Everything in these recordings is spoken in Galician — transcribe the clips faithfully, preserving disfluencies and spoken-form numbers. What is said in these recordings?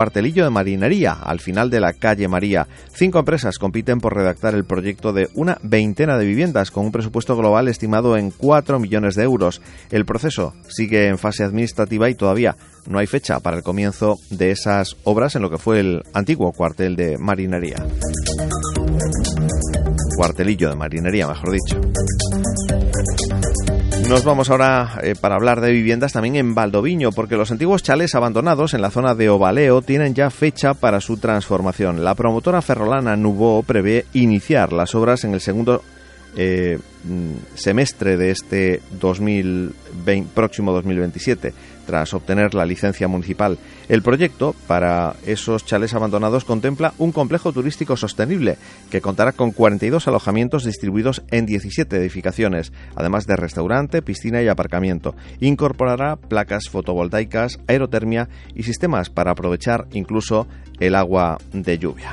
Cuartelillo de Marinería, al final de la calle María. Cinco empresas compiten por redactar el proyecto de una veintena de viviendas con un presupuesto global estimado en cuatro millones de euros. El proceso sigue en fase administrativa y todavía no hay fecha para el comienzo de esas obras en lo que fue el antiguo cuartel de Marinería. Cuartelillo de Marinería, mejor dicho. Nos vamos ahora eh, para hablar de viviendas también en Valdoviño, porque los antiguos chalés abandonados en la zona de Ovaleo tienen ya fecha para su transformación. La promotora ferrolana Nubo prevé iniciar las obras en el segundo eh, semestre de este dos mil veinte, próximo dos mil veintisiete, tras obtener la licencia municipal. El proyecto para esos chalés abandonados contempla un complejo turístico sostenible que contará con cuarenta y dos alojamientos distribuidos en diecisiete edificaciones, además de restaurante, piscina y aparcamiento. Incorporará placas fotovoltaicas, aerotermia y sistemas para aprovechar incluso el agua de lluvia.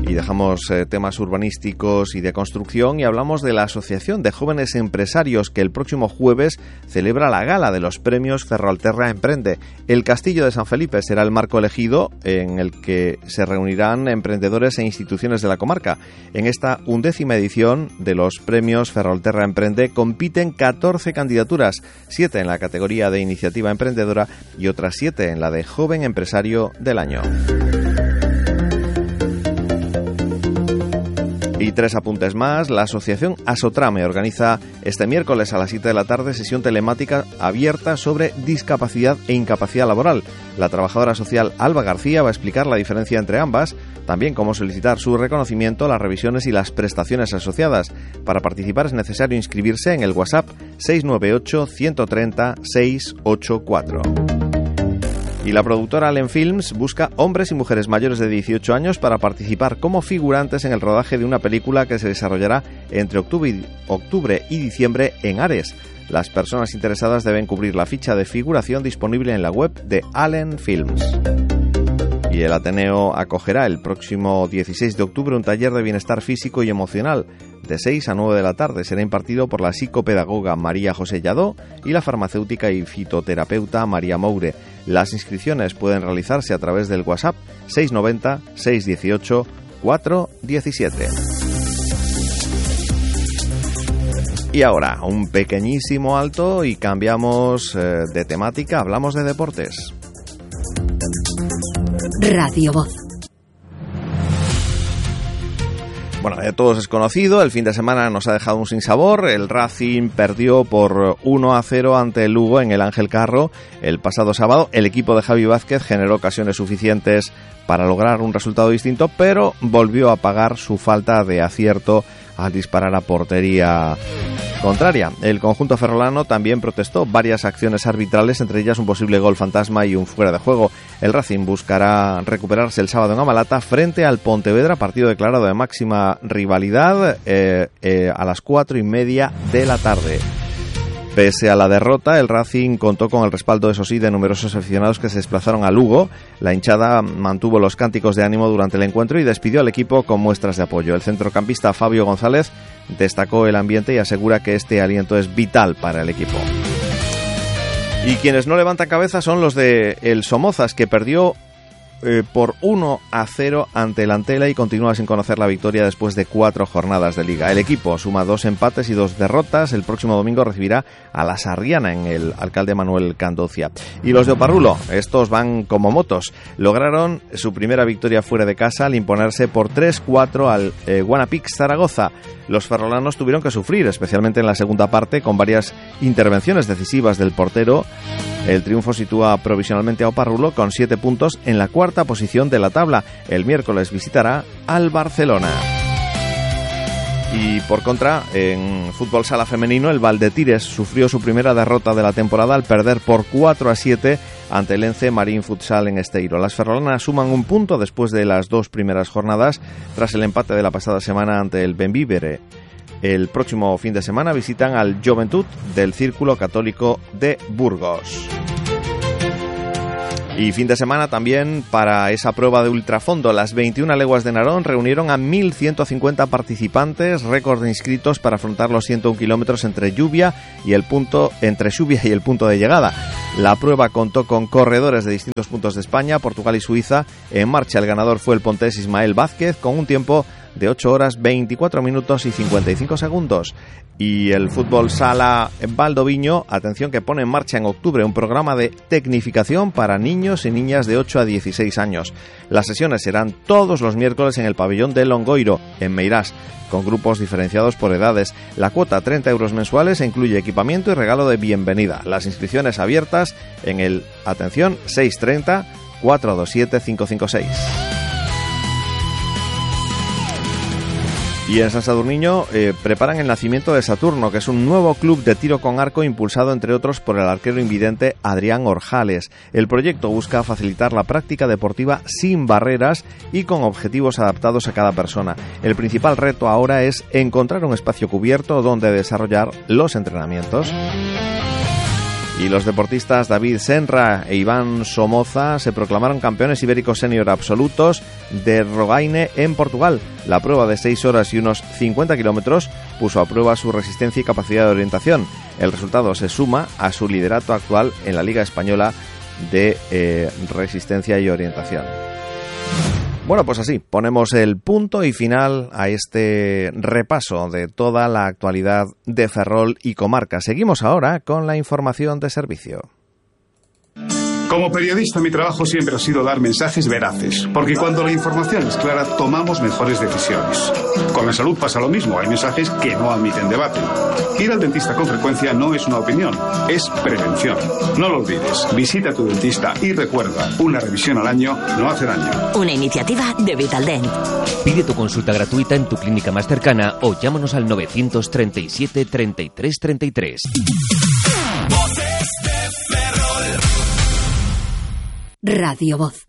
Y dejamos eh, temas urbanísticos y de construcción y hablamos de la Asociación de Jóvenes Empresarios, que el próximo jueves celebra la gala de los premios Ferrolterra Emprende. El Castillo de San Felipe será el marco elegido en el que se reunirán emprendedores e instituciones de la comarca. En esta undécima edición de los premios Ferrolterra Emprende compiten catorce candidaturas, siete en la categoría de iniciativa emprendedora y otras siete en la de joven empresario del año. Y tres apuntes más. La asociación Asotrame organiza este miércoles a las siete de la tarde sesión telemática abierta sobre discapacidad e incapacidad laboral. La trabajadora social Alba García va a explicar la diferencia entre ambas, también cómo solicitar su reconocimiento, las revisiones y las prestaciones asociadas. Para participar es necesario inscribirse en el WhatsApp seis nueve ocho, uno tres cero, seis ocho cuatro. Y la productora Allen Films busca hombres y mujeres mayores de dieciocho años para participar como figurantes en el rodaje de una película que se desarrollará entre octubre y, octubre y diciembre en Ares. Las personas interesadas deben cubrir la ficha de figuración disponible en la web de Allen Films. Y el Ateneo acogerá el próximo dieciséis de octubre un taller de bienestar físico y emocional de seis a nueve de la tarde. Será impartido por la psicopedagoga María José Lladó y la farmacéutica y fitoterapeuta María Moure. Las inscripciones pueden realizarse a través del WhatsApp seis nueve cero, seis uno ocho, cuatro uno siete. Y ahora, un pequeñísimo alto y cambiamos eh, de temática, hablamos de deportes. Radio Voz. Bueno, de todos es conocido, el fin de semana nos ha dejado un sinsabor. El Racing perdió por uno a cero ante el Lugo en el Ángel Carro el pasado sábado. El equipo de Javi Vázquez generó ocasiones suficientes para lograr un resultado distinto, pero volvió a pagar su falta de acierto al disparar a portería contraria. El conjunto ferrolano también protestó varias acciones arbitrales, entre ellas un posible gol fantasma y un fuera de juego. El Racing buscará recuperarse el sábado en Amalata frente al Pontevedra, partido declarado de máxima rivalidad eh, eh, a las cuatro y media de la tarde. Pese a la derrota, el Racing contó con el respaldo, eso sí, de numerosos aficionados que se desplazaron a Lugo. La hinchada mantuvo los cánticos de ánimo durante el encuentro y despidió al equipo con muestras de apoyo. El centrocampista Fabio González destacó el ambiente y asegura que este aliento es vital para el equipo. Y quienes no levantan cabeza son los de el Somozas, que perdió Eh, por uno a cero ante el Antela y continúa sin conocer la victoria después de cuatro jornadas de liga. El equipo suma dos empates y dos derrotas. El próximo domingo recibirá a la Sarriana en el Alcalde Manuel Candocia. Y los de Oparrulo, estos van como motos. Lograron su primera victoria fuera de casa al imponerse por tres cuatro al eh, Guanapix Zaragoza. Los ferrolanos tuvieron que sufrir, especialmente en la segunda parte, con varias intervenciones decisivas del portero. El triunfo sitúa provisionalmente a Oparrulo con siete puntos en la cuarta posición de la tabla. El miércoles visitará al Barcelona. Y por contra, en fútbol sala femenino, el Valdetires sufrió su primera derrota de la temporada al perder por cuatro a siete ante el Ence Marín Futsal en Esteiro. Las ferrolanas suman un punto después de las dos primeras jornadas, tras el empate de la pasada semana ante el Benvívere. El próximo fin de semana visitan al Juventud del Círculo Católico de Burgos. Y fin de semana también para esa prueba de ultrafondo. Las veintiuna leguas de Narón reunieron a mil ciento cincuenta participantes, récord de inscritos para afrontar los ciento un kilómetros entre lluvia y el punto entre lluvia y el punto de llegada. La prueba contó con corredores de distintos puntos de España, Portugal y Suiza. En marcha el ganador fue el pontés Ismael Vázquez con un tiempo de ocho horas veinticuatro minutos y cincuenta y cinco segundos. Y el fútbol sala Valdoviño, atención, que pone en marcha en octubre un programa de tecnificación para niños y niñas de ocho a dieciséis años. Las sesiones serán todos los miércoles en el pabellón de Longoiro, en Meirás, con grupos diferenciados por edades. La cuota, treinta euros mensuales, e incluye equipamiento y regalo de bienvenida. Las inscripciones abiertas en el, atención, seis treinta, cuatrocientos veintisiete, quinientos cincuenta y seis. Y en San Sadurniño eh, preparan el nacimiento de Saturno, que es un nuevo club de tiro con arco impulsado, entre otros, por el arquero invidente Adrián Orjales. El proyecto busca facilitar la práctica deportiva sin barreras y con objetivos adaptados a cada persona. El principal reto ahora es encontrar un espacio cubierto donde desarrollar los entrenamientos. Y los deportistas David Senra e Iván Somoza se proclamaron campeones ibéricos senior absolutos de Rogaine en Portugal. La prueba de seis horas y unos cincuenta kilómetros puso a prueba su resistencia y capacidad de orientación. El resultado se suma a su liderato actual en la Liga Española de eh, Resistencia y Orientación. Bueno, pues así, ponemos el punto y final a este repaso de toda la actualidad de Ferrol y comarca. Seguimos ahora con la información de servicio. Como periodista, mi trabajo siempre ha sido dar mensajes veraces, porque cuando la información es clara, tomamos mejores decisiones. Con la salud pasa lo mismo, hay mensajes que no admiten debate. Ir al dentista con frecuencia no es una opinión, es prevención. No lo olvides, visita a tu dentista y recuerda, una revisión al año no hace daño. Una iniciativa de Vitaldent. Pide tu consulta gratuita en tu clínica más cercana o llámanos al novecientos treinta y siete, treinta y tres, treinta y tres. Radio Voz.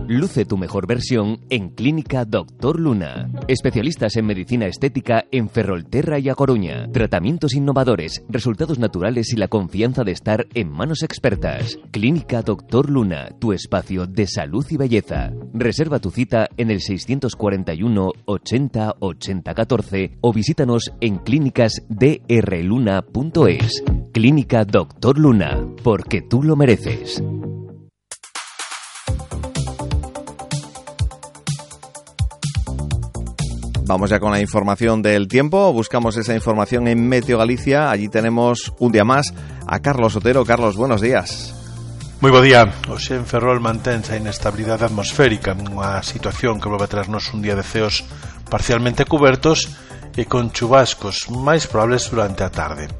Luce tu mejor versión en Clínica Doctor Luna. Especialistas en medicina estética en Ferrolterra y A Coruña. Tratamientos innovadores, resultados naturales y la confianza de estar en manos expertas. Clínica Doctor Luna, tu espacio de salud y belleza. Reserva tu cita en el seiscientos cuarenta y uno, ochenta, ochenta, catorce o visítanos en clínicas d r luna punto es. Clínica Doctor Luna, porque tú lo mereces. Vamos ya con la información del tiempo. Buscamos esa información en Meteo Galicia. Allí tenemos un día más a Carlos Otero. Carlos, buenos días. Moi bo día. Hoxe en Ferrol mantense a inestabilidade atmosférica, unha situación que volve a traernos un día de ceos parcialmente cubertos e con chubascos máis probables durante a tarde.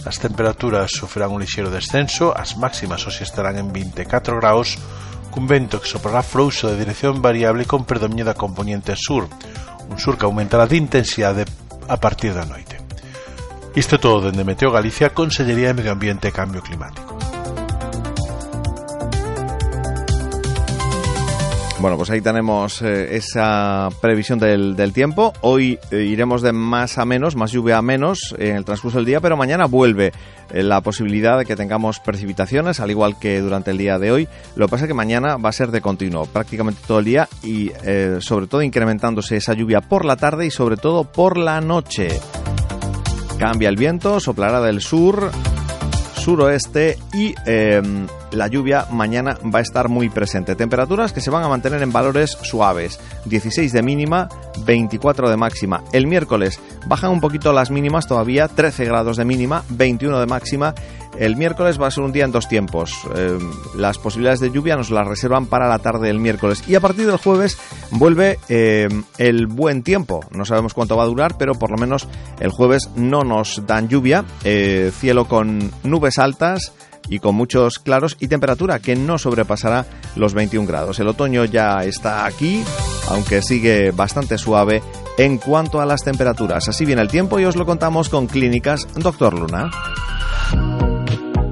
As temperaturas sofrerán un lixeiro descenso, as máximas hoxe estarán en vinte e catro graus, cun vento que soprará frouxo de dirección variable con predominio da componente sur, un sur que aumentará de intensidade a partir da noite. Isto todo dende Meteo Galicia, Consellería de Medio Ambiente e Cambio Climático. Bueno, pues ahí tenemos eh, esa previsión del, del tiempo. Hoy eh, iremos de más a menos, más lluvia a menos en el transcurso del día, pero mañana vuelve eh, la posibilidad de que tengamos precipitaciones, al igual que durante el día de hoy. Lo que pasa es que mañana va a ser de continuo, prácticamente todo el día y eh, sobre todo incrementándose esa lluvia por la tarde y sobre todo por la noche. Cambia el viento, soplará del sur, suroeste y eh, la lluvia mañana va a estar muy presente. Temperaturas que se van a mantener en valores suaves, dieciséis de mínima, veinticuatro de máxima. El miércoles bajan un poquito las mínimas todavía, trece grados de mínima, veintiuno de máxima. El miércoles va a ser un día en dos tiempos. Eh, las posibilidades de lluvia nos las reservan para la tarde del miércoles. Y a partir del jueves vuelve eh, el buen tiempo. No sabemos cuánto va a durar, pero por lo menos el jueves no nos dan lluvia. Eh, cielo con nubes altas y con muchos claros y temperatura que no sobrepasará los veintiún grados. El otoño ya está aquí, aunque sigue bastante suave en cuanto a las temperaturas. Así viene el tiempo y os lo contamos con Clínicas Doctor Luna.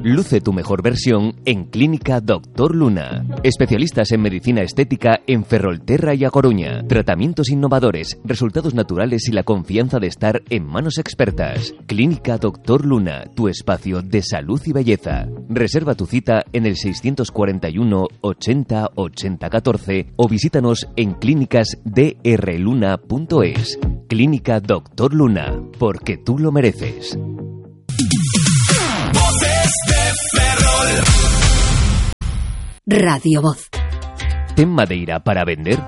Luce tu mejor versión en Clínica Doctor Luna. Especialistas en medicina estética en Ferrolterra y A Coruña. Tratamientos innovadores, resultados naturales y la confianza de estar en manos expertas. Clínica Doctor Luna, tu espacio de salud y belleza. Reserva tu cita en el seiscientos cuarenta y uno, ochenta, ochenta, catorce o visítanos en clínicas d r luna punto es. Clínica Doctor Luna, porque tú lo mereces. Voces de Ferrol. Radio Voz. ¿Ten madeira para vender?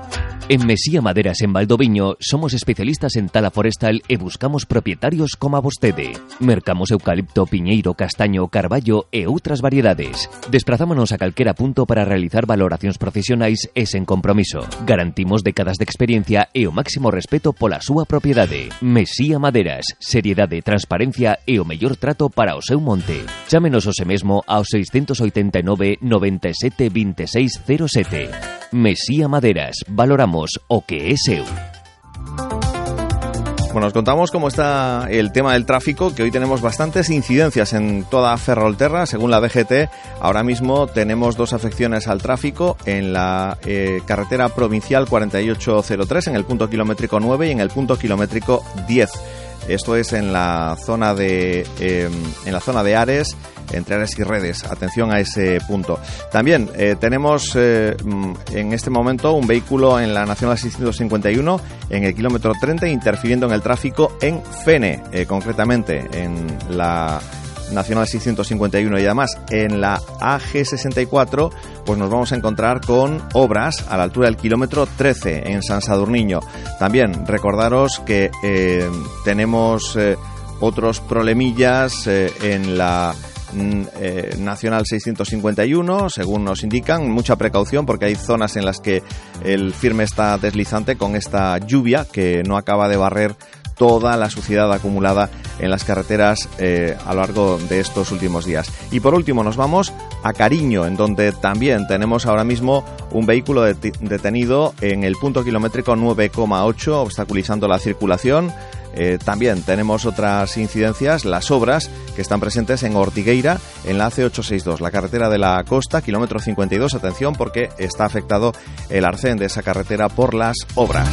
En Mesía Maderas en Valdoviño somos especialistas en tala forestal e buscamos propietarios como a vostede. Mercamos eucalipto, piñeiro, castaño, carballo e outras variedades. Desprazámonos a calquera punto para realizar valoracións profesionais e sen compromiso. Garantimos décadas de experiencia e o máximo respeto pola súa propiedade. Mesía Maderas, seriedade, transparencia e o mellor trato para o seu monte. Chámenos ose mesmo ao seiscentos oitenta e nove, noventa e sete, vinte e seis, cero sete. Mesía Maderas, valoramos o que é seu. Bueno, os contamos cómo está el tema del tráfico, que hoy tenemos bastantes incidencias en toda Ferrolterra. Según la D G T, ahora mismo tenemos dos afecciones al tráfico en la eh, carretera provincial cuarenta y ocho cero tres, en el punto kilométrico nueve y en el punto kilométrico diez. Esto es en la zona de eh, en la zona de Ares, entre Ares y Redes. Atención a ese punto. También eh, tenemos eh, en este momento un vehículo en la Nacional seiscientos cincuenta y uno en el kilómetro treinta interfiriendo en el tráfico en Fene, eh, concretamente en la Nacional seiscientos cincuenta y uno, y además en la A G sesenta y cuatro pues nos vamos a encontrar con obras a la altura del kilómetro trece en San Sadurniño. También recordaros que eh, tenemos eh, otros problemillas eh, en la Eh, Nacional seiscientos cincuenta y uno, según nos indican. Mucha precaución porque hay zonas en las que el firme está deslizante con esta lluvia que no acaba de barrer toda la suciedad acumulada en las carreteras eh, a lo largo de estos últimos días. Y por último nos vamos a Cariño, en donde también tenemos ahora mismo un vehículo det- detenido en el punto kilométrico nueve coma ocho, obstaculizando la circulación. Eh, también tenemos otras incidencias, las obras que están presentes en Ortigueira, en la A C ochocientos sesenta y dos, la carretera de la costa, kilómetro cincuenta y dos. Atención porque está afectado el arcén de esa carretera por las obras.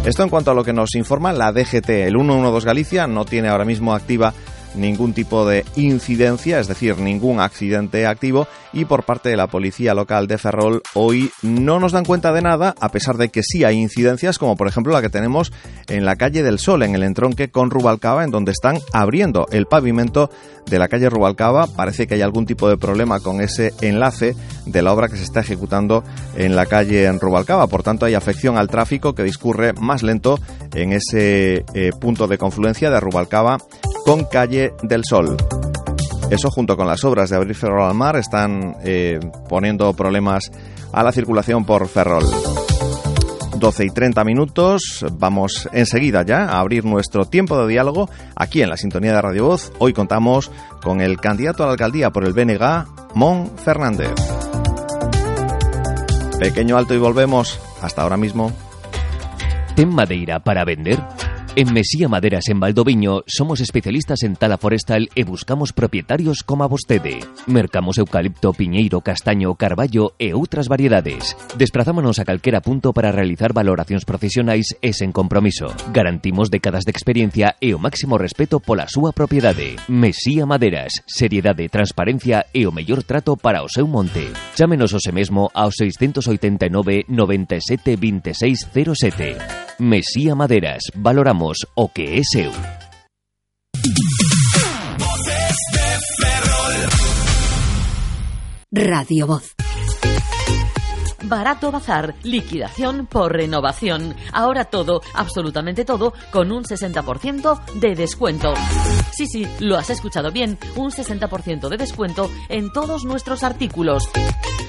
Esto en cuanto a lo que nos informa la D G T. El ciento doce Galicia no tiene ahora mismo activa ningún tipo de incidencia, es decir, ningún accidente activo, y por parte de la policía local de Ferrol hoy no nos dan cuenta de nada, a pesar de que sí hay incidencias, como por ejemplo la que tenemos en la calle del Sol, en el entronque con Rubalcaba, en donde están abriendo el pavimento de la calle Rubalcaba. Parece que hay algún tipo de problema con ese enlace de la obra que se está ejecutando en la calle en Rubalcaba, por tanto hay afección al tráfico que discurre más lento en ese eh, punto de confluencia de Rubalcaba con calle del Sol. Eso, junto con las obras de abrir Ferrol al mar, están eh, poniendo problemas a la circulación por Ferrol. doce y treinta minutos, vamos enseguida ya a abrir nuestro tiempo de diálogo aquí en la sintonía de Radio Voz. Hoy contamos con el candidato a la alcaldía por el B N G, Mon Fernández. Pequeño alto y volvemos. Hasta ahora mismo. ¿Ten madeira para vender? En Mesía Maderas en Valdoviño somos especialistas en tala forestal e buscamos propietarios como a vostede. Mercamos eucalipto, piñeiro, castaño, carballo e outras variedades. Desprazámonos a calquera punto para realizar valoracións profesionais e sen compromiso. Garantimos décadas de experiencia e o máximo respeto pola súa propiedade. Mesía Maderas, seriedade, transparencia e o mellor trato para o seu monte. Chámenos ose mesmo ao seiscentos oitenta e nove, noventa e sete, vinte e seis, cero sete. Mesía Maderas, valoramos o que é seu. Voces de Ferrol. Radio Voz. Barato Bazar, liquidación por renovación. Ahora todo, absolutamente todo, con un sesenta por ciento de descuento. Sí, sí, lo has escuchado bien, un sesenta por ciento de descuento en todos nuestros artículos.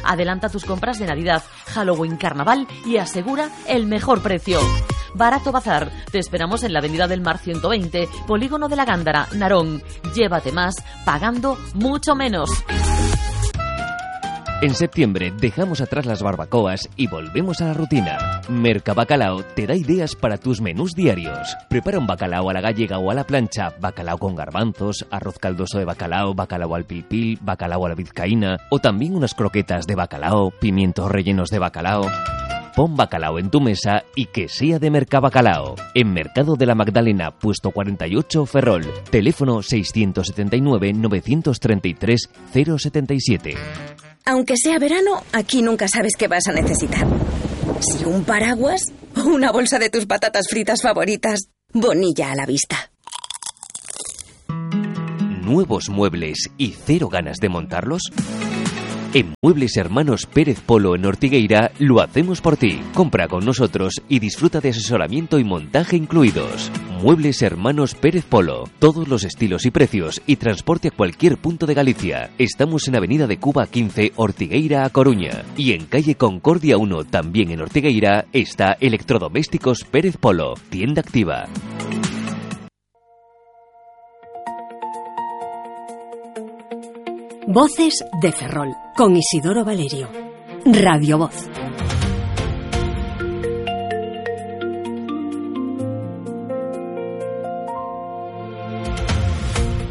Adelanta tus compras de Navidad, Halloween, Carnaval y asegura el mejor precio. Barato Bazar, te esperamos en la Avenida del Mar ciento veinte, Polígono de la Gándara, Narón. Llévate más, pagando mucho menos. En septiembre dejamos atrás las barbacoas y volvemos a la rutina. Mercabacalao te da ideas para tus menús diarios. Prepara un bacalao a la gallega o a la plancha, bacalao con garbanzos, arroz caldoso de bacalao, bacalao al pilpil, bacalao a la vizcaína, o también unas croquetas de bacalao, pimientos rellenos de bacalao. Pon bacalao en tu mesa y que sea de Mercabacalao. En Mercado de la Magdalena, puesto cuarenta y ocho, Ferrol. Teléfono seiscientos setenta y nueve, novecientos treinta y tres, cero setenta y siete. Aunque sea verano, aquí nunca sabes qué vas a necesitar. Si un paraguas o una bolsa de tus patatas fritas favoritas. Bonilla a la vista. nuevos muebles y cero ganas de montarlos? En Muebles Hermanos Pérez Polo en Ortigueira lo hacemos por ti. Compra con nosotros y disfruta de asesoramiento y montaje incluidos. Muebles Hermanos Pérez Polo. Todos los estilos y precios y transporte a cualquier punto de Galicia. Estamos en Avenida de Cuba quince, Ortigueira, A Coruña. Y en Calle Concordia uno, también en Ortigueira, está Electrodomésticos Pérez Polo. Tienda activa. Voces de Ferrol, con Isidoro Valerio. Radio Voz.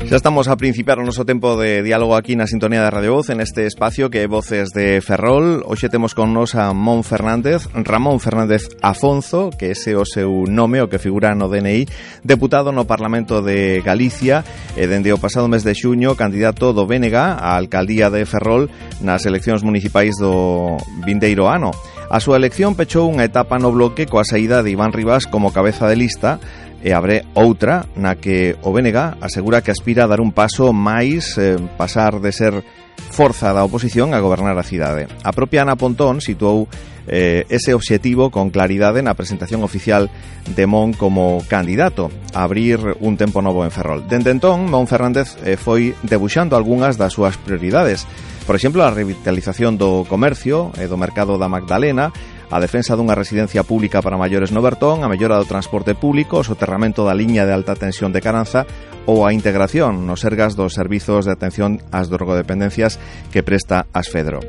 Xa estamos a principiar o noso tempo de diálogo aquí na sintonía de Radio Voz, en este espacio que é Voces de Ferrol. Hoxe temos con nos a Mon Fernández, Ramón Fernández Afonso, que ese é o seu nome, o que figura no D N I, deputado no Parlamento de Galicia, e dende o pasado mes de xuño, candidato do B N G á alcaldía de Ferrol nas eleccións municipais do vindeiro ano. A súa elección pechou unha etapa no bloque coa saída de Iván Rivas como cabeza de lista, e abre outra na que o B N G asegura que aspira a dar un paso máis, eh, pasar de ser forza da oposición a gobernar a cidade. A propia Ana Pontón situou eh, ese obxectivo con claridade na presentación oficial de Mon como candidato a abrir un tempo novo en Ferrol. Dende entón, Mon Fernández eh, foi debuxando algunhas das súas prioridades. Por exemplo, a revitalización do comercio e do mercado da Magdalena, a defensa dunha residencia pública para maiores no Bertón, a mellora do transporte público, o soterramento da liña de alta tensión de Caranza ou a integración nos sergas dos servizos de atención ás drogodependencias que presta Asfedro.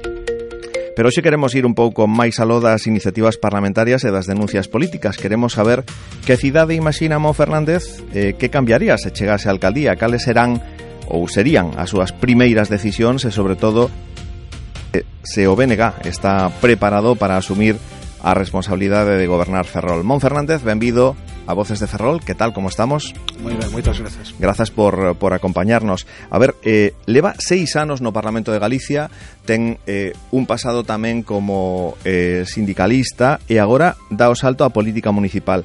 Pero hoxe queremos ir un pouco máis aló das iniciativas parlamentarias e das denuncias políticas. Queremos saber que cidade imagina Mon Fernández, eh, que cambiaría se chegase á alcaldía, cales serán ou serían as súas primeiras decisións e, sobre todo, se o B N G está preparado para asumir a responsabilidade de gobernar Ferrol. Mon Fernández, benvido a Voces de Ferrol. Que tal, como estamos? Moi ben, moitas grazas. Grazas por, por acompañarnos. A ver, eh, leva seis anos no Parlamento de Galicia, ten eh, un pasado tamén como eh, sindicalista e agora dá o salto á política municipal.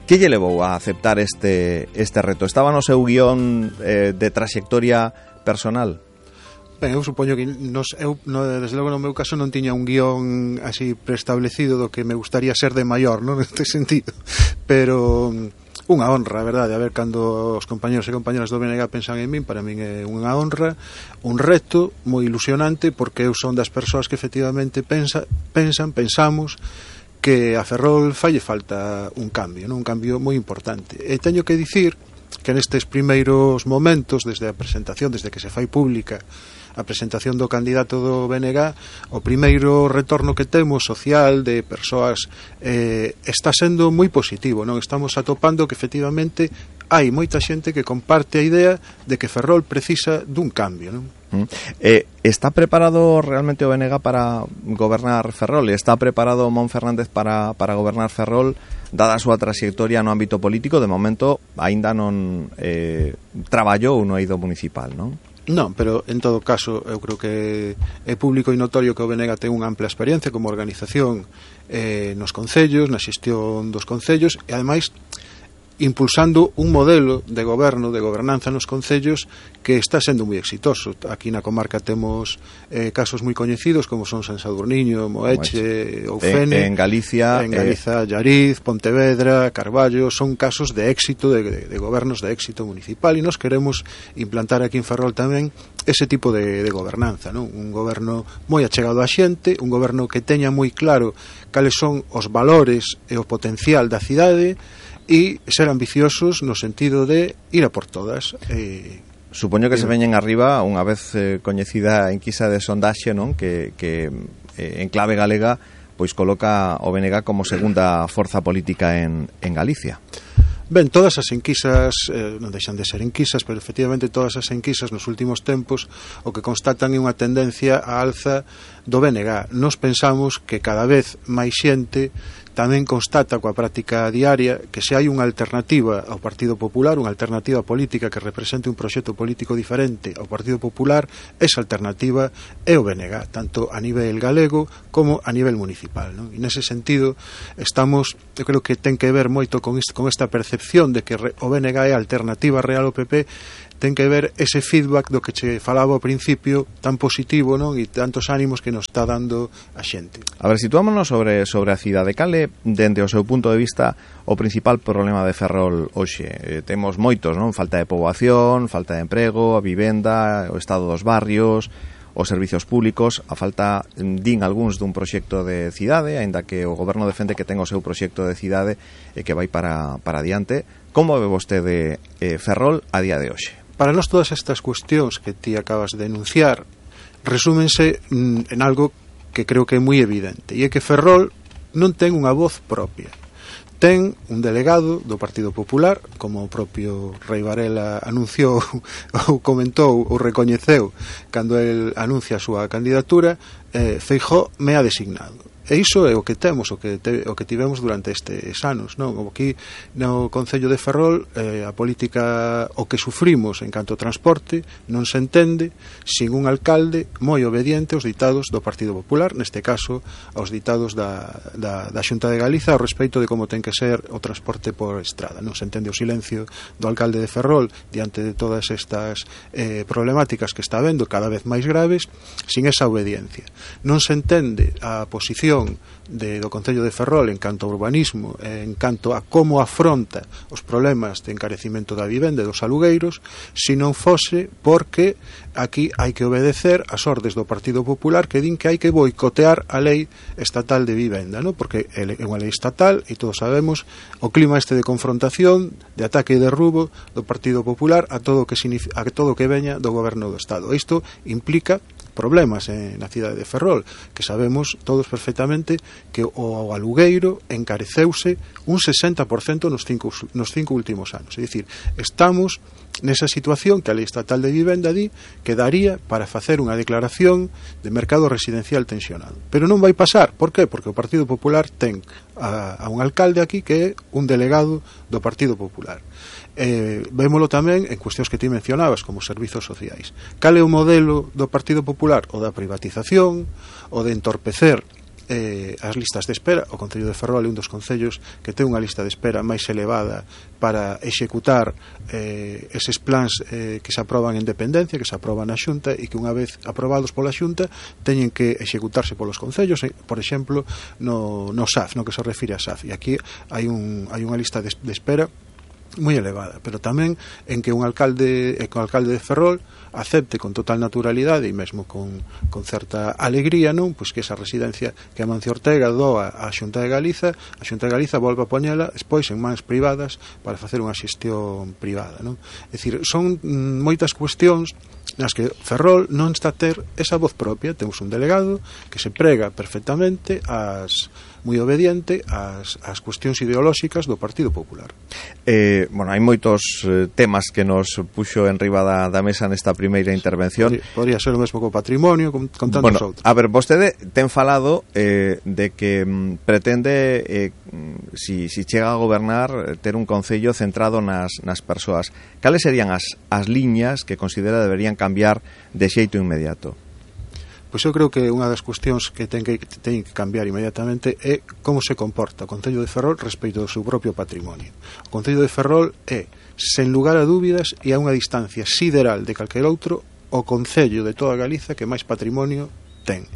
Que lle levou a aceptar este, este reto? Estaba no seu guión eh, de trayectoria personal? Ben, eu supoño que nos, eu, no, desde logo no meu caso non tiña un guión así preestablecido do que me gustaría ser de maior, non, neste sentido, pero unha honra, a verdade, a ver cando os compañeros e compañeras do B N G pensan en min, para min é unha honra, un reto moi ilusionante, porque eu son das persoas que efectivamente pensa, pensan, pensamos que a Ferrol falle falta un cambio, non? Un cambio moi importante. E teño que dicir que nestes primeiros momentos, desde a presentación, desde que se fai pública a presentación do candidato do B N G, o primeiro retorno que temos social de persoas eh, está sendo moi positivo, non? Estamos atopando que efectivamente hai moita xente que comparte a idea de que Ferrol precisa dun cambio, non? Eh, está preparado realmente o B N G para gobernar Ferrol? Está preparado Mon Fernández para, para gobernar Ferrol, dada a súa trayectoria no ámbito político? De momento aínda non eh, traballou no eido municipal, non? Non, pero en todo caso eu creo que é público e notorio que o B N G ten unha ampla experiencia como organización eh, nos concellos, na xestión dos concellos, e ademais impulsando un modelo de goberno, de gobernanza nos concellos que está sendo moi exitoso. Aquí na comarca temos eh, casos moi coñecidos como son San Sadurniño, Moeche, Oufene. En, en Galicia, en Galiza, eh... Llariz, Pontevedra, Carballo, son casos de éxito, de, de, de gobernos de éxito municipal, e nos queremos implantar aquí en Ferrol tamén ese tipo de, de gobernanza, non? Un goberno moi achegado á xente, un goberno que teña moi claro cales son os valores e o potencial da cidade, e ser ambiciosos no sentido de ir a por todas. Eh, Supoño que eh, se veñen arriba unha vez eh, coñecida a enquisa de sondaxe, non? Que, que eh, en clave galega pois coloca o B N G como segunda forza política en, en Galicia. Ben, todas as enquisas, eh, non deixan de ser enquisas, pero efectivamente todas as enquisas nos últimos tempos o que constatan é unha tendencia á alza do B N G. Nos pensamos que cada vez máis xente tamén constata coa práctica diaria que se hai unha alternativa ao Partido Popular, unha alternativa política que represente un proxecto político diferente ao Partido Popular, esa alternativa é o B N G, tanto a nivel galego como a nivel municipal, non? E nese sentido estamos, eu creo que ten que ver moito con, isto, con esta percepción de que o B N G é a alternativa real ao P P, ten que ver ese feedback do que che falaba ao principio, tan positivo, non? E tantos ánimos que nos está dando a xente. A ver, situámonos sobre, sobre a cidade. Cale, dende o seu punto de vista, o principal problema de Ferrol hoxe? Eh, temos moitos, non? Falta de poboación, falta de emprego, a vivenda, o estado dos barrios, os servicios públicos, a falta, din algúns, dun proxecto de cidade, aínda que o goberno defende que ten o seu proxecto de cidade e que vai para, para adiante. Como ve vostede eh, Ferrol a día de hoxe? Para nós todas estas cuestións que ti acabas de enunciar resúmense en algo que creo que é moi evidente, e é que Ferrol non ten unha voz propia. Ten un delegado do Partido Popular, como o propio Rei Varela anunciou ou comentou ou recoñeceu cando el anuncia a súa candidatura. eh, Feijóo me ha designado. E iso é o que temos, o que, te, o que tivemos durante estes anos, non? Aquí no Concello de Ferrol eh, a política, o que sufrimos en canto ao transporte, non se entende sin un alcalde moi obediente aos ditados do Partido Popular, neste caso aos ditados da, da, da Xunta de Galiza ao respecto de como ten que ser o transporte por estrada. Non se entende o silencio do alcalde de Ferrol diante de todas estas eh, problemáticas que está vendo cada vez máis graves, sin esa obediencia. Non se entende a posición de, do Concello de Ferrol en canto ao urbanismo, en canto a como afronta os problemas de encarecimento da vivenda e dos alugueiros, se non fose porque aquí hai que obedecer as ordes do Partido Popular que din que hai que boicotear a lei estatal de vivenda, ¿no? Porque é unha lei estatal e todos sabemos o clima este de confrontación, de ataque e de derrubo do Partido Popular a todo o que, a todo o que veña do goberno do Estado. Isto implica problemas eh, na cidade de Ferrol, que sabemos todos perfectamente que o alugueiro encareceuse un sesenta por cento nos cinco, nos cinco últimos anos. É dicir, estamos nesa situación que a Lei Estatal de Vivenda di que daría para facer unha declaración de mercado residencial tensionado. Pero non vai pasar. Por qué? Porque o Partido Popular ten a, a un alcalde aquí que é un delegado do Partido Popular. Eh, vémolo tamén en cuestións que ti mencionabas como servizos sociais. Cal é o modelo do Partido Popular? O da privatización, o de entorpecer eh, as listas de espera. O Concello de Ferrol é un dos concellos que ten unha lista de espera máis elevada para executar eh, eses plans eh, que se aproban en dependencia, que se aproban na Xunta e que unha vez aprobados pola Xunta teñen que executarse polos concellos, eh, por exemplo no, no S A F, no que se refire a S A F, e aquí hai, un, hai unha lista de, de espera moi elevada, pero tamén en que un alcalde, eh, un alcalde de Ferrol acepte con total naturalidade e mesmo con, con certa alegría, non, pois que esa residencia que Amancio Ortega doa á Xunta de Galiza, a Xunta de Galiza volve a poñela despois en mans privadas para facer unha xestión privada, non? É dicir, son mm, moitas cuestións nas que Ferrol non está a ter esa voz propia. Temos un delegado que se prega perfectamente as moi obediente ás, ás cuestións ideolóxicas do Partido Popular. Eh, bueno, hai moitos eh, temas que nos puxo en riba da, da mesa nesta primeira intervención. Podría, podría ser o mesmo co patrimonio, con, con tantos bueno, outros. A ver, vostede ten falado eh, de que mm, pretende, eh, si, si chega a gobernar, ter un concello centrado nas, nas persoas. Cales serían as, as liñas que considera deberían cambiar de xeito inmediato? Pois eu creo que unha das cuestións que ten que, ten que cambiar inmediatamente é como se comporta o Concello de Ferrol respecto do seu propio patrimonio. O Concello de Ferrol é, sen lugar a dúbidas e a unha distancia sideral de calquer outro, o Concello de toda Galiza que máis patrimonio ten.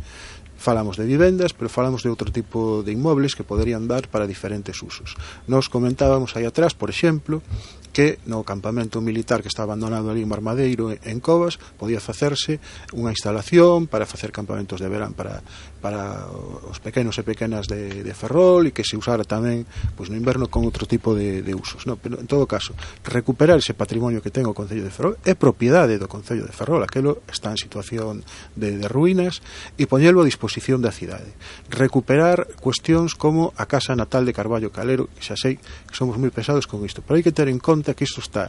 Falamos de vivendas, pero falamos de outro tipo de inmobles que poderían dar para diferentes usos. Nos comentábamos aí atrás, por exemplo, que no campamento militar que está abandonado ali en Marmadeiro, en Covas, podía facerse unha instalación para facer campamentos de verán para, para os pequenos e pequenas de, de Ferrol, e que se usara tamén pois, no inverno con outro tipo de, de usos, no? Pero en todo caso, recuperar ese patrimonio que ten o Concello de Ferrol é propiedade do Concello de Ferrol, aquelo está en situación de, de ruínas, e poñelo a disposición da cidade. Recuperar cuestións como a casa natal de Carballo Calero, que xa sei que somos moi pesados con isto, pero hai que ter en conta que isto está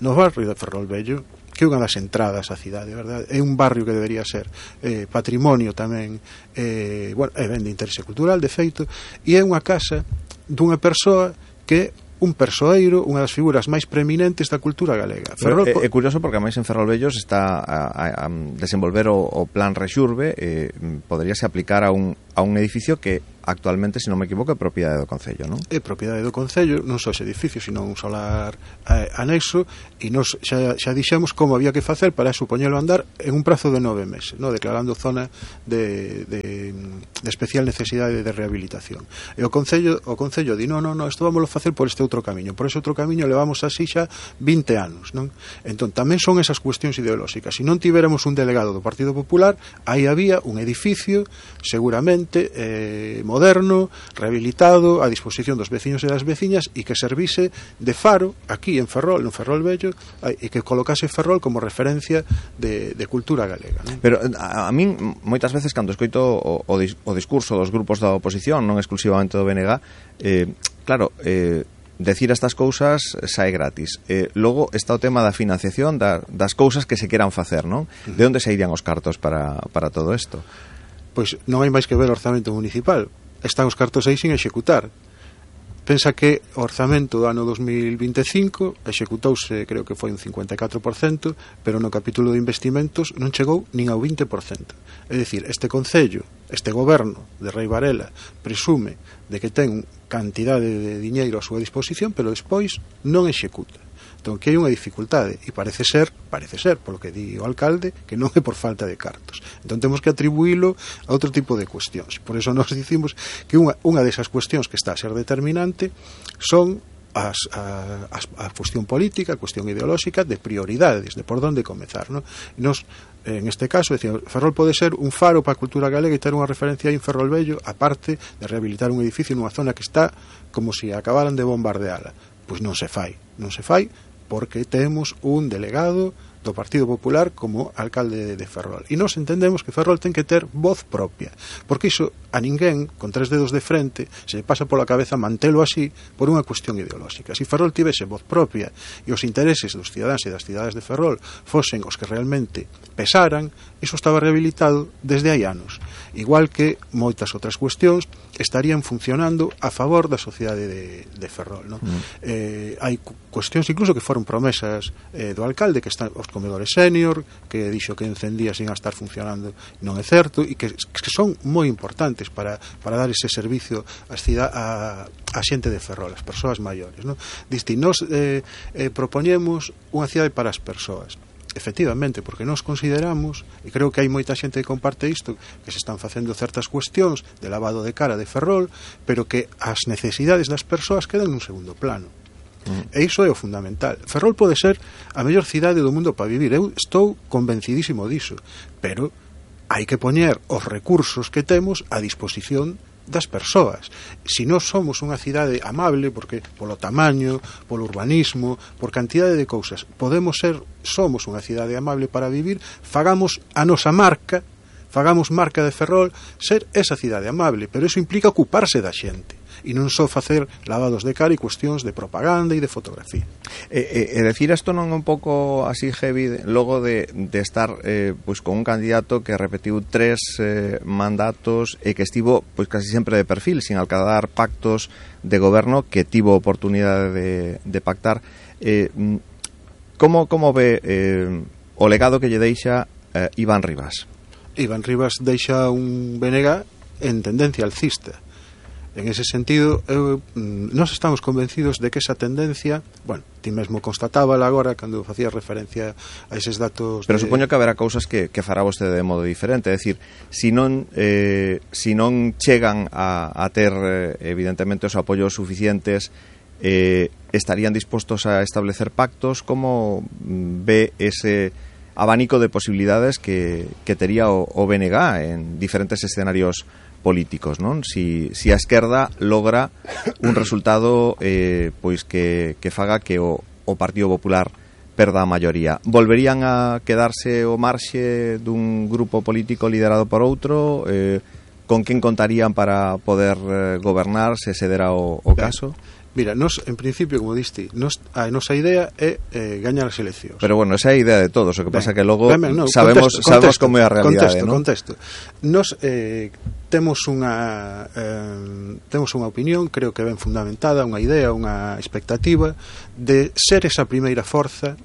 no barrio de Ferrol Vello, que é unha das entradas á cidade, verdade? É un barrio que debería ser eh, patrimonio tamén, eh, bueno, é ben de interese cultural, de feito, e é unha casa dunha persoa que un persoeiro, unha das figuras máis preeminentes da cultura galega. Ferrol... É, é curioso porque a máis en Ferrolvellos está a, a, a desenvolver o, o plan Rexurbe, eh, poderíase aplicar a un, a un edificio que actualmente, se non me equivoco, é propiedade do Concello, non? É propiedade do Concello, non só ese edificio, sino un solar eh, anexo, e nos xa, xa dixemos como había que facer para supoñelo andar en un prazo de nove meses, no? Declarando zona de, de, de especial necesidade de rehabilitación. E o Concello, o Concello di, non, non, non, isto vámoslo facer por este outro camiño, por ese outro camiño levamos así xa vinte anos, non? Entón, tamén son esas cuestións ideolóxicas. Se non tiveramos un delegado do Partido Popular, aí había un edificio, seguramente, eh, moderno, rehabilitado, a disposición dos veciños e das veciñas, e que servise de faro aquí en Ferrol, no Ferrol Vello, e que colocase Ferrol como referencia de, de cultura galega, non? Pero a, a min moitas veces cando escoito o, o, dis, o discurso dos grupos da oposición, non exclusivamente do B N G, eh, claro, eh, decir estas cousas sae gratis. Eh, logo está o tema da financiación da, das cousas que se queran facer, non? De onde se irían os cartos para, para todo isto? Pois non hai máis que ver o orzamento municipal. Están os cartos aí sin executar. Pensa que o orzamento do ano dos mil vinte e cinco executouse, creo que foi un cincuenta e catro por cento, pero no capítulo de investimentos non chegou nin ao vinte por cento. É dicir, este Concello, este goberno de Rei Varela presume de que ten cantidade de diñeiro a súa disposición, pero despois non executa. Entón, que hai unha dificultade, e parece ser, parece ser, polo que di o alcalde, que non é por falta de cartos. Entón, temos que atribuílo a outro tipo de cuestións. Por eso nos dicimos que unha, unha desas cuestións que está a ser determinante son as, a, a, a cuestión política, a cuestión ideolóxica de prioridades, de por onde comezar, non? Nos, en este caso, decíamos, Ferrol pode ser un faro para a cultura galega e ter unha referencia aí en Ferrol Vello, aparte de rehabilitar un edificio nunha zona que está como se acabaran de bombardeala. Pois non se fai, non se fai, porque temos un delegado do Partido Popular como alcalde de Ferrol. E nós entendemos que Ferrol ten que ter voz propia, porque iso a ninguén, con tres dedos de frente, se pasa pola cabeza mantelo así por unha cuestión ideolóxica. Se Ferrol tivese voz propia e os intereses dos cidadáns e das cidades de Ferrol fosen os que realmente pesaran, iso estaba rehabilitado desde hai anos. Igual que moitas outras cuestións estarían funcionando a favor da sociedade de, de Ferrol, non? Mm. Eh, hai cuestións incluso que foron promesas eh, do alcalde, que están os comedores senior, que dixo que en cen días iban a estar funcionando, non é certo, e que, que son moi importantes para, para dar ese servicio a, a, a xente de Ferrol, as persoas maiores, non? Disti, nos eh, eh, propoñemos unha cidade para as persoas. Efectivamente, porque nós consideramos, e creo que hai moita xente que comparte isto, que se están facendo certas cuestións de lavado de cara de Ferrol, pero que as necesidades das persoas quedan nun segundo plano. Mm. E iso é o fundamental. Ferrol pode ser a mellor cidade do mundo para vivir, eu estou convencidísimo diso, pero hai que poñer os recursos que temos a disposición das persoas. Se nós somos unha cidade amable, porque polo tamaño, polo urbanismo, por cantidade de cousas, podemos ser, somos unha cidade amable para vivir, fagamos a nosa marca, fagamos marca de Ferrol, ser esa cidade amable, pero iso implica ocuparse da xente, e non só facer lavados de cara e cuestións de propaganda e de fotografía. E, e, e decir isto non é un pouco así heavy logo de, de estar eh, pois con un candidato que repetiu tres eh, mandatos e que estivo pois casi sempre de perfil, sin alcanzar pactos de goberno que tivo oportunidade de, de pactar. Eh, como, como ve eh, o legado que lle deixa eh, Iván Rivas? Iván Rivas deixa un B N G en tendencia alcista. En ese sentido, eu, nós estamos convencidos de que esa tendencia, bueno, ti mesmo constatábala agora cando facía referencia a eses datos. Pero de... supoño que haberá cousas que, que fará vostede de modo diferente, é dicir, si non eh, si non chegan a, a ter eh, evidentemente os apoios suficientes, eh, estarían dispostos a establecer pactos. Como ve ese abanico de posibilidades que, que tería o, o B N G en diferentes escenarios políticos, non? Si, si a esquerda logra un resultado eh, pois que, que faga que o, o Partido Popular perda a maioría. Volverían a quedarse o marxe dun grupo político liderado por outro? Eh, con quen contarían para poder eh, gobernar se se dera o, o caso? Mira, nos, en principio, como diste, nos, a nosa idea é eh, gañar as eleccións. Pero bueno, esa é a idea de todos, o que pasa que logo ben, ben, no, sabemos, contesto, sabemos contesto, como é a realidade, contesto, ¿no? Contesto, Nos eh, temos unha eh, temos unha opinión, creo que ben fundamentada, unha idea, unha expectativa de ser esa primeira forza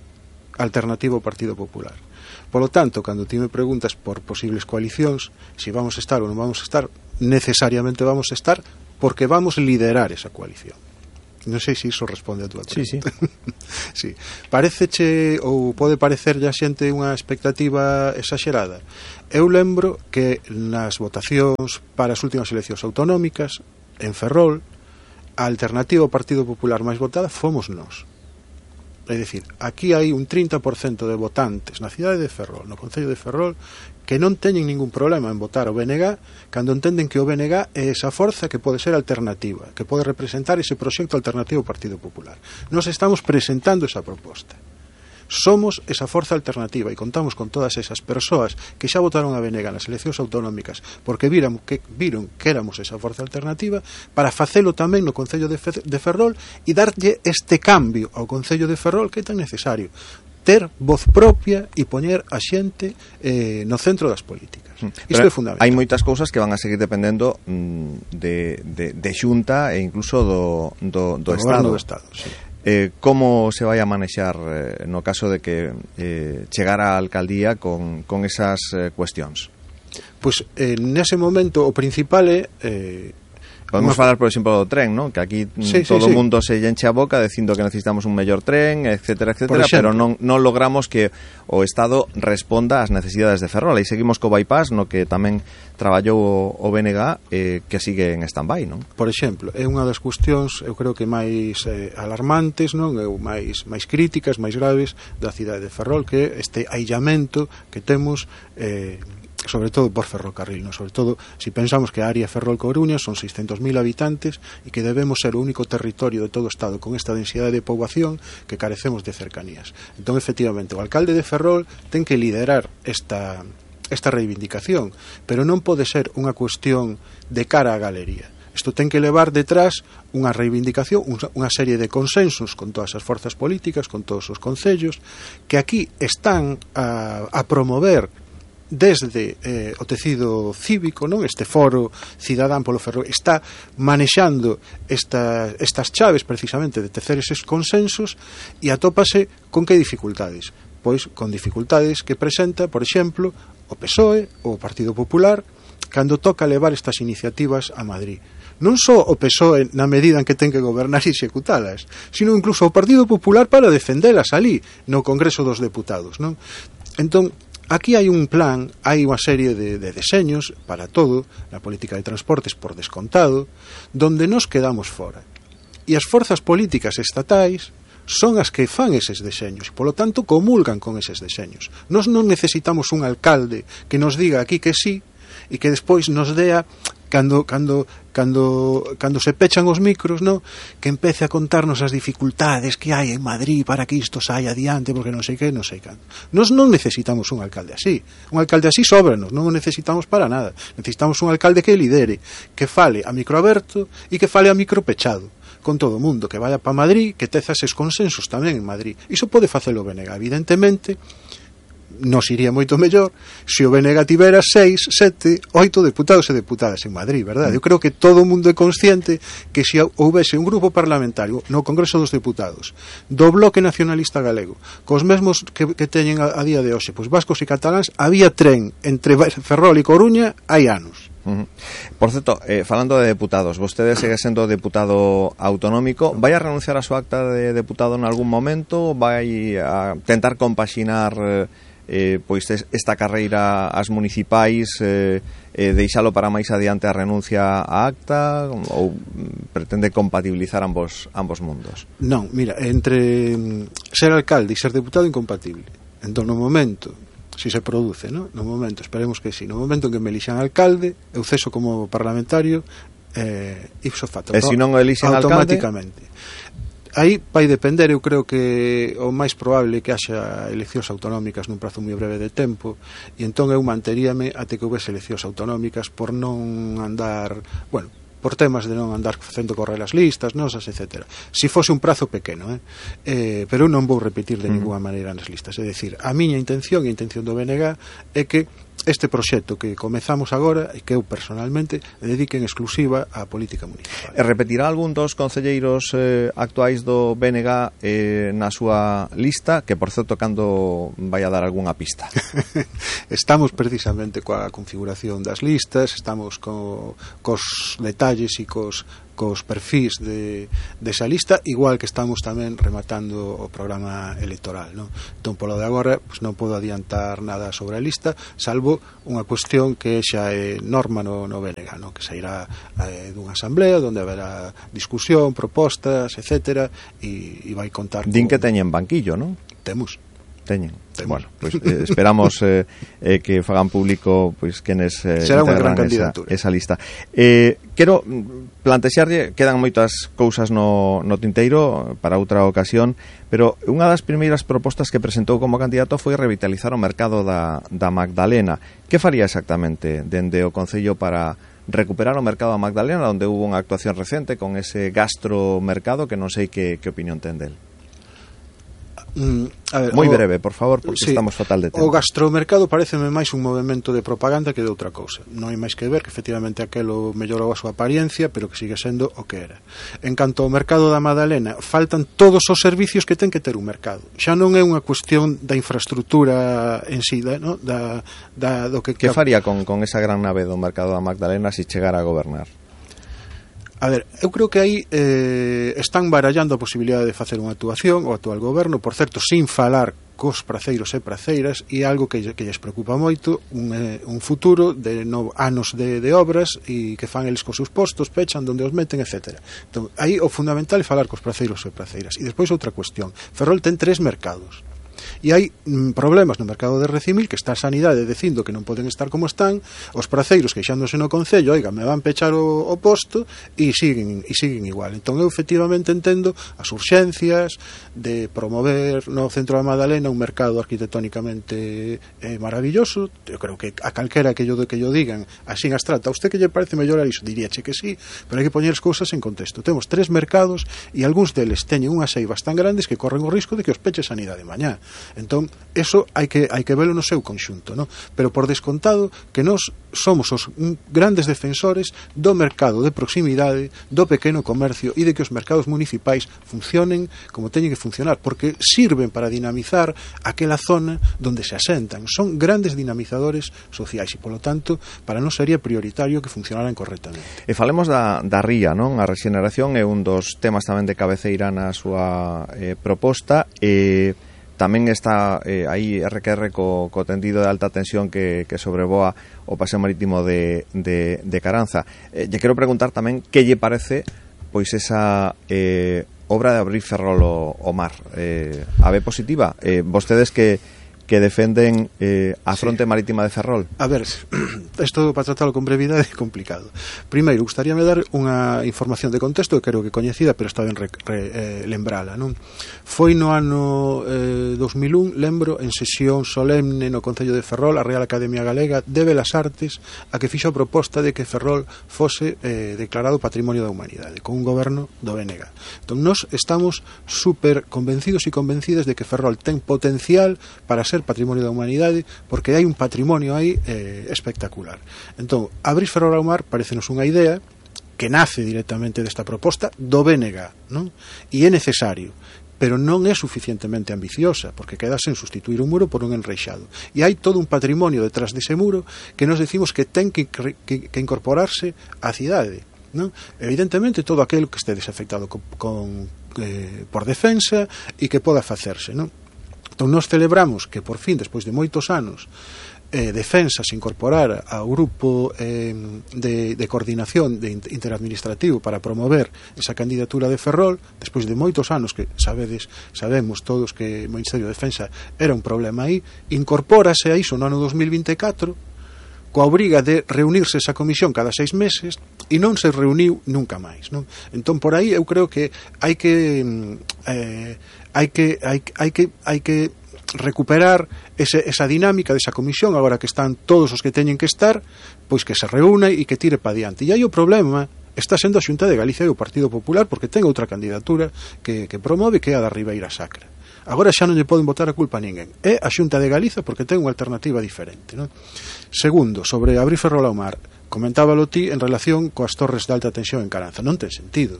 alternativa ao Partido Popular. Polo tanto, cando ti me preguntas por posibles coalicións, se si vamos a estar ou non vamos a estar, necesariamente vamos a estar porque vamos a liderar esa coalición. Non sei se iso responde a túa pregunta. Sí, sí. sí. Pareceche ou pode parecerlle a xente unha expectativa exagerada? Eu lembro que nas votacións para as últimas eleccións autonómicas en Ferrol, a alternativa ao Partido Popular máis votada fomos nós. É dicir, aquí hai un trinta por cento de votantes na cidade de Ferrol, no concello de Ferrol, que non teñen ningún problema en votar o B N G cando entenden que o B N G é esa forza que pode ser alternativa, que pode representar ese proxecto alternativo ao Partido Popular. Nos estamos presentando esa proposta. Somos esa forza alternativa e contamos con todas esas persoas que xa votaron a B N G nas eleccións autonómicas porque viran que, viron que éramos esa forza alternativa para facelo tamén no Concello de, Fe, de Ferrol e darlle este cambio ao Concello de Ferrol que é tan necesario, ter voz propia e poñer a xente eh, no centro das políticas. Isto é fundamental. Hai moitas cousas que van a seguir dependendo mm, de, de, de Xunta e incluso do, do, do, do Estado, do Estado sí. Eh, como se vai a manexar eh, no caso de que eh, chegara a alcaldía con, con esas eh, cuestións? Pois pues, eh, nese momento o principal é eh, podemos falar, por exemplo, do tren, ¿no? Que aquí sí, todo o sí, sí. mundo se enche a boca dicindo que necesitamos un mellor tren, etcétera, etcétera, pero non, non logramos que o Estado responda ás necesidades de Ferrol. E seguimos co bypass, no que tamén traballou o B N G eh, que sigue en stand-by, non? Por exemplo, é unha das cuestións, eu creo que máis eh, alarmantes, non? Eu máis máis críticas, máis graves da cidade de Ferrol, que este aillamento que temos eh, sobre todo por ferrocarril, ¿no? Sobre todo si pensamos que a área Ferrol-Coruña son seiscentos mil habitantes e que debemos ser o único territorio de todo o Estado con esta densidade de poboación que carecemos de cercanías. Entón, efectivamente, o alcalde de Ferrol ten que liderar esta, esta reivindicación, pero non pode ser unha cuestión de cara á galería. Isto ten que levar detrás unha reivindicación, unha serie de consensos con todas as forzas políticas, con todos os concellos, que aquí están a, a promover desde eh, o tecido cívico, non? Este foro cidadán polo Ferrol está manexando esta, estas chaves precisamente de tecer eses consensos e atópase con que dificultades? Pois con dificultades que presenta, por exemplo, o P S O E ou o Partido Popular cando toca levar estas iniciativas a Madrid. Non só o P S O E na medida en que ten que gobernar e executalas, sino incluso o Partido Popular para defendelas ali no Congreso dos Deputados, non? Entón, aquí hai un plan, hai unha serie de, de deseños para todo, na política de transportes por descontado, donde nos quedamos fora. E as forzas políticas estatais son as que fan eses deseños, e polo tanto comulgan con eses deseños. Nos non necesitamos un alcalde que nos diga aquí que sí, e que despois nos dea cando cando cando cando se pechan os micros, no, que empece a contarnos as dificultades que hai en Madrid para que isto saia adiante, porque non sei que, non sei canto. Nos non necesitamos un alcalde así. Un alcalde así sóbranos, non o necesitamos para nada. Necesitamos un alcalde que lidere, que fale a micro aberto e que fale a micro pechado con todo o mundo, que vaya para Madrid, que teza eses consensos tamén en Madrid. Iso pode facelo o B N G, evidentemente. Nos iría moito mellor se o B N G tivera seis, sete, oito deputados e deputadas en Madrid, verdade? Eu creo que todo o mundo é consciente que se houvese un grupo parlamentario no Congreso dos Deputados do Bloque Nacionalista Galego cos mesmos que, que teñen a, a día de hoxe, pois vascos e cataláns, había tren entre Ferrol e Coruña hai anos. Uh-huh. Por certo, eh, falando de deputados, vostede segue sendo deputado autonómico, vai a renunciar a súa acta de deputado en algún momento? Vai a tentar compaxinar eh, eh, pois esta carreira ás municipais, eh, eh, deixalo para máis adiante a renuncia á acta, ou pretende compatibilizar ambos ambos mundos? Non, mira, entre ser alcalde e ser deputado incompatible. Entón, no momento, si se produce, ¿no? No momento, esperemos que sí, no momento en que me elixan alcalde, eu ceso como parlamentario eh, ipso facto, e se non o elixen automáticamente. Aí vai depender, eu creo que o máis probable que haxa eleccións autonómicas nun prazo moi breve de tempo, e entón eu manteríame até que houvese eleccións autonómicas por non andar, bueno, por temas de non andar facendo correr as listas nosas, etcétera. Si fose un prazo pequeno, eh? Eh, pero non vou repetir de ninguna maneira nas listas. É dicir, a miña intención e a intención do B N G é que este proxecto que comezamos agora e que eu personalmente dedique en exclusiva á política municipal. E repetirá algún dos concelleiros eh, actuais do B N G eh, na súa lista, que por certo cando vai a dar algunha pista? Estamos precisamente coa configuración das listas, estamos co, cos detalles e cos cos perfís de, de esa lista, igual que estamos tamén rematando o programa electoral, non? Entón, polo de agora, pues, non podo adiantar nada sobre a lista, salvo unha cuestión que xa é norma no, no B N G, non? Que sairá eh, dunha asamblea onde haberá discusión, propostas, etcétera, e, e vai contar Din con... que teñen banquillo, non? Temos. Teñen. Bueno, pues, eh, esperamos eh, eh, que fagan público pois pues, quenes eh, será unha gran esa, candidatura esa lista. Eh, quero plantexarlle, quedan moitas cousas no, no tinteiro para outra ocasión, pero unha das primeiras propostas que presentou como candidato foi revitalizar o mercado da, da Magdalena. Que faría exactamente dende o Concello para recuperar o mercado da Magdalena, onde hubo unha actuación recente con ese gastromercado que non sei que, que opinión ten del? Mm, a ver, moi o, breve, por favor, porque sí, estamos fatal de tempo. O gastromercado pareceme máis un movimento de propaganda que de outra cousa. Non hai máis que ver que efectivamente aquelo mellorou a súa apariencia, pero que sigue sendo o que era. En canto ao mercado da Madalena, faltan todos os servicios que ten que ter un mercado. Xa non é unha cuestión da infraestructura en sí, da, no? da, da, do que... Que faría con, con esa gran nave do mercado da Magdalena se si chegara a gobernar? A ver, eu creo que aí eh, están barallando a posibilidade de facer unha actuación o actual goberno, por certo, sin falar cos praceiros e praceiras, e algo que, que lles preocupa moito, un, eh, un futuro de no, anos de, de obras e que fan eles cos seus postos, pechan donde os meten, etcétera. Entón, aí o fundamental é falar cos praceiros e praceiras. E despois outra cuestión, Ferrol ten tres mercados. E hai mm, problemas no mercado de Recimil, que está a sanidade dicindo que non poden estar como están, os praceiros queixándose no Concello, oiga, me van pechar o, o posto, e siguen, e siguen igual. Entón eu efectivamente entendo as urxencias de promover no centro da Madalena un mercado arquitectónicamente eh, maravilloso. Eu creo que a calquera que yo, que yo digan así en abstracto, a usted que lle parece mellorar iso, diríache que sí, pero hai que poñer as cousas en contexto. Temos tres mercados e algúns deles teñen unhas eivas tan grandes que corren o risco de que os peche sanidade mañá. Entón, eso hai que hai que velo no seu conxunto, ¿no? Pero por descontado que nós somos os grandes defensores do mercado de proximidade, do pequeno comercio e de que os mercados municipais funcionen como teñen que funcionar, porque sirven para dinamizar aquela zona donde se asentan. Son grandes dinamizadores sociais e, polo tanto, para nós sería prioritario que funcionaran correctamente. E falemos da, da ría, non? A rexeneración é un dos temas tamén de cabeceira na súa eh, proposta e tamén está eh, aí R Q R co, co tendido de alta tensión que, que sobrevoa o paseo marítimo de, de, de Caranza. Eh, lle quero preguntar tamén que lle parece pois esa eh, obra de abrir Ferrol o, o mar. Eh, a ve positiva? Eh, vostedes que que defenden eh, a fronte sí. marítima de Ferrol? A ver, isto para tratarlo con brevidade é complicado. Primeiro, gustaríame dar unha información de contexto que creo que coñecida, pero está ben re, re, eh, lembrala, non? Foi no ano eh, dos mil un, lembro, en sesión solemne no Concello de Ferrol, a Real Academia Galega de Belas Artes, a que fixo a proposta de que Ferrol fose eh, declarado Patrimonio da Humanidade, con un goberno do B N G. Entón, nós estamos super convencidos e convencidas de que Ferrol ten potencial para ser Patrimonio da Humanidade, porque hai un patrimonio aí eh, espectacular. Entón, abrir Ferrol ao mar parecenos unha idea que nace directamente desta proposta do B N G, non? E é necesario, pero non é suficientemente ambiciosa, porque queda sen sustituir un muro por un enreixado. E hai todo un patrimonio detrás dese muro que nos decimos que ten que, que, que incorporarse á cidade, non? Evidentemente todo aquel que este desafectado con, con, eh, por defensa e que poda facerse, non? Entón, nós celebramos que, por fin, despois de moitos anos, eh, Defensa se incorporara ao grupo eh, de, de coordinación de interadministrativo para promover esa candidatura de Ferrol, despois de moitos anos que sabedes, sabemos todos que o Ministerio de Defensa era un problema aí, incorpórase a iso no ano dos mil vinte e catro, coa obriga de reunirse esa comisión cada seis meses e non se reuniu nunca máis, non? Entón, por aí eu creo que hai que eh, hai que hai, hai que hai que recuperar ese, esa dinámica desa comisión, agora que están todos os que teñen que estar, pois que se reúna e que tire pa diante. E aí o problema está sendo a Xunta de Galicia e o Partido Popular, porque ten outra candidatura que, que promove, que é a da Ribeira Sacra. Agora xa non lle poden botar a culpa a ninguén. É a Xunta de Galiza porque ten unha alternativa diferente, non? Segundo, sobre abrir Ferrol ao mar, comentábalo ti en relación coas torres de alta tensión en Caranza. Non ten sentido.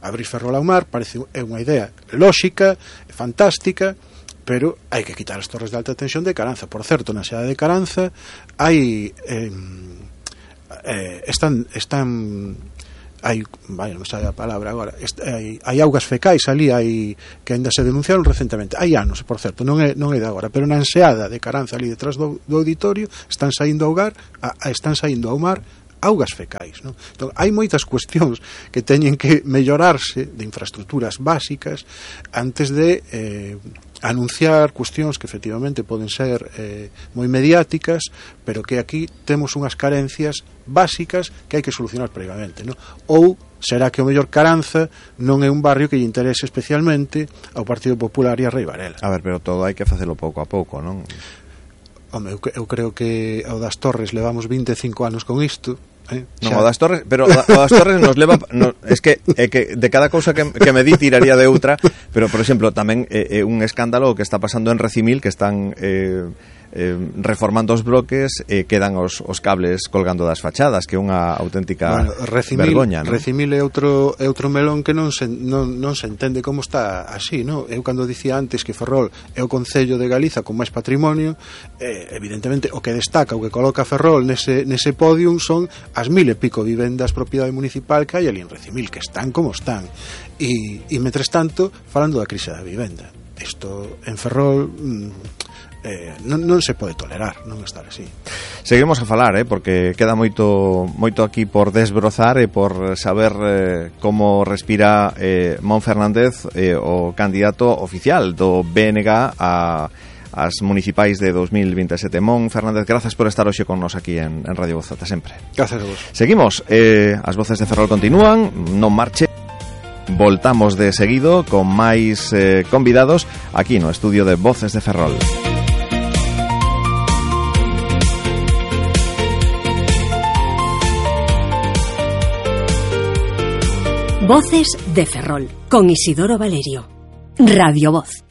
Abrir Ferrol ao mar parece é unha idea lóxica, fantástica, pero hai que quitar as torres de alta tensión de Caranza. Por certo, na cidade de Caranza hai eh, eh, están están hai, vaya, non sabe a palabra agora, est, hai, hai augas fecais ali, hai que ainda se denunciaron recentemente, hai anos, por certo, non é, non é de agora, pero na enseada de Caranza ali detrás do, do auditorio están saindo ao gar, a, a, están saindo ao mar augas fecais, non? Entón, hai moitas cuestións que teñen que mellorarse de infraestructuras básicas antes de eh, anunciar cuestións que efectivamente poden ser eh, moi mediáticas, pero que aquí temos unhas carencias básicas que hai que solucionar previamente, non? Ou será que o mellor Caranza non é un barrio que lle interese especialmente ao Partido Popular e a Rei Varela. A ver, pero todo hai que facelo pouco a pouco, non? Home, eu, eu creo que ao das Torres levamos vinte e cinco anos con isto. Eh, non, o das Torres, pero o das Torres nos leva, no, es que é que de cada cousa que, que me di tiraría de outra, pero por exemplo, tamén é, é un escándalo o que está pasando en Recimil, que están eh, eh, reformando os bloques e eh, quedan os, os cables colgando das fachadas, que é unha auténtica bueno, Recimil, vergoña, non? Recimil é outro, é outro melón que non se, non, non se entende como está así, non? Eu cando dicía antes que Ferrol é o concello de Galiza con máis patrimonio, eh, evidentemente o que destaca, o que coloca Ferrol nese, nese podium son as mil e pico vivendas propiedade municipal que hai ali en Recimil, que están como están, e, e mentres tanto falando da crise da vivenda, isto en Ferrol mmm, Eh, non, non se pode tolerar non estar así. Seguimos a falar, eh, porque queda moito moito aquí por desbrozar e por saber eh, como respira eh, Mon Fernández, eh, o candidato oficial do B N G a as municipais de dos mil veintisiete. Mon Fernández, grazas por estar hoxe con nos aquí en, en Radio Voz, ata sempre. Gracias a vos. Seguimos, eh, as voces de Ferrol continúan, non marche. Voltamos de seguido con máis eh, convidados aquí no estudio de Voces de Ferrol. Voces de Ferrol, con Isidoro Valerio. Radio Voz.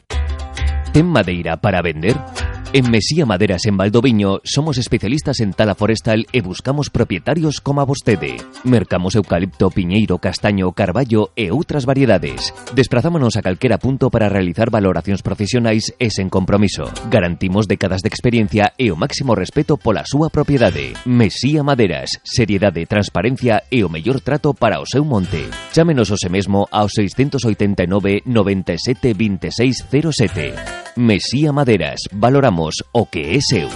¿Ten madeira para vender? En Mesía Maderas en Valdoviño somos especialistas en tala forestal e buscamos propietarios como a vostede. Mercamos eucalipto, piñeiro, castaño, carballo e outras variedades. Desprazámonos a calquera punto para realizar valoracións profesionais e sen compromiso. Garantimos décadas de experiencia e o máximo respeto pola súa propiedade. Mesía Maderas, seriedade, transparencia e o mellor trato para o seu monte. Chámenos hoxe mesmo ao seiscentos oitenta e nove, noventa e sete, vinte e seis, cero sete. Mesía Maderas, valoramos o que é seu.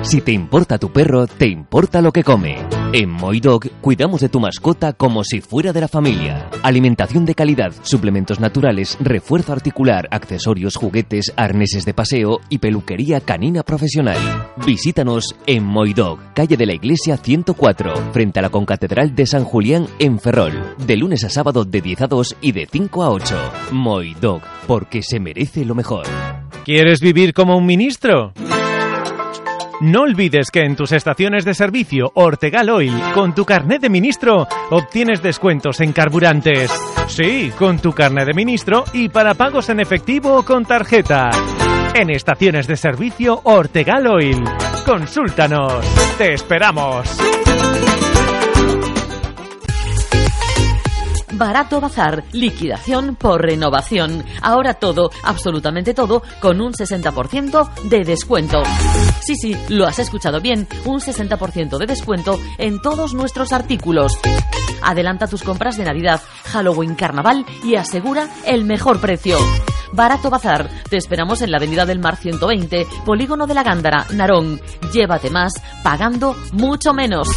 Si te importa tu perro, te importa lo que come. En Moidog cuidamos de tu mascota como si fuera de la familia. Alimentación de calidad, suplementos naturales, refuerzo articular, accesorios, juguetes, arneses de paseo y peluquería canina profesional. Visítanos en Moidog, calle de la Iglesia ciento cuatro, frente a la Concatedral de San Julián en Ferrol. De lunes a sábado de diez a dos y de cinco a ocho. Moidog, porque se merece lo mejor. ¿Quieres vivir como un ministro? No olvides que en tus estaciones de servicio Ortegal Oil, con tu carnet de ministro, obtienes descuentos en carburantes. Sí, con tu carnet de ministro y para pagos en efectivo o con tarjeta. En estaciones de servicio Ortegal Oil. Consúltanos. Te esperamos. Barato Bazar, liquidación por renovación. Ahora todo, absolutamente todo, con un sesenta por ciento de descuento. Sí, sí, lo has escuchado bien, un sesenta por ciento de descuento en todos nuestros artículos. Adelanta tus compras de Navidad, Halloween, Carnaval y asegura el mejor precio. Barato Bazar, te esperamos en la Avenida del Mar ciento veinte, Polígono de la Gándara, Narón. Llévate más, pagando mucho menos.